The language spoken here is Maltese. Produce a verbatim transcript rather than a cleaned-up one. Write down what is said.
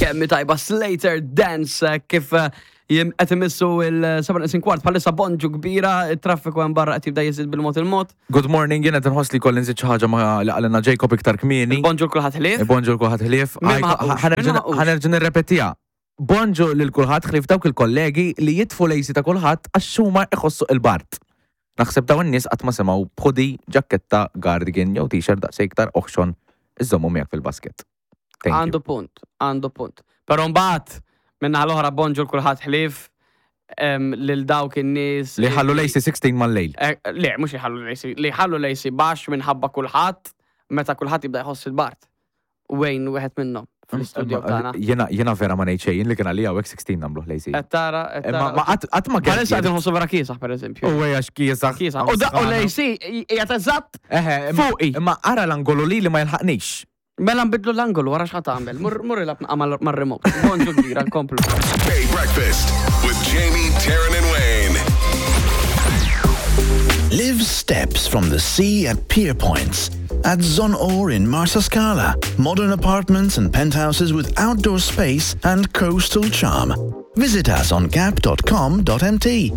Kemm hi tajba Slater Dance eh, kif eh, jim qed imissu il-seba neqsin kwart bħalissa. Bonġu kbira, it-traffiku hemm barra qed jibda jiżid bil-mod il-mod. Good morning, jiena tinħoss li kolli nżid xi ħaġa ma li qalilna Jacob iktar kmieni. Bonġu kulħadd ħlief. Bonġu kulħadd ħlief. Min ma ħaqux? Min ma ħaqux? Ħa nerġa' nirrepetiha. Bonġu lil kulħadd ħlief dawk il-kollegi li jitfu l-A C ta' kulħadd għax huma iħossu il-bard. Naħseb dawn in-nies qatt ma semgħu b'hoodie, ġaketta, cardigan jew t-shirt daqsxejn iktar oħxon iżommu miegħek fil-basket. Thank you. Għandu punt, għandu punt. Però mbagħad minna l-oħra bonġu kulħadd ħlief em, lil dawk in-nies Li ħallu l-A C sittax mal-lejl. Eh, Le, mhux li ħallu l-A C, li ħallu l-A C baxx minħabba kulħadd meta kulħadd jibda jħoss il-bard. Wayne wieħed minnhom fl-istudio tagħna. Jena jena vera ma ngħid xejn li kien għalija hawnhekk sittax nagħmlu l-A C. Qed tara, qed Ma tara. ma qatt qatt ma Bħalissa qed inħossu vera kiesaħ, pereżempju. U għax kiesaħ. Kiesaħ. U da u l-A C qiegħed eżatt Eħe, imma- fuqi. Imma ara l-angolu li li ma jilħaqnix. Mela nbidlu l-angolu, wara x'ħa tagħmel. Mur mur ilgħab mar-remote. Bonġu kbira, nkomplu. Bay Breakfast with Jamie, Taryn, and Wayne. Live steps from the sea at Pier Points. At Zonor in Marsascala. Modern apartments and penthouses with outdoor space and coastal charm. Visit us on gap dot com dot M T.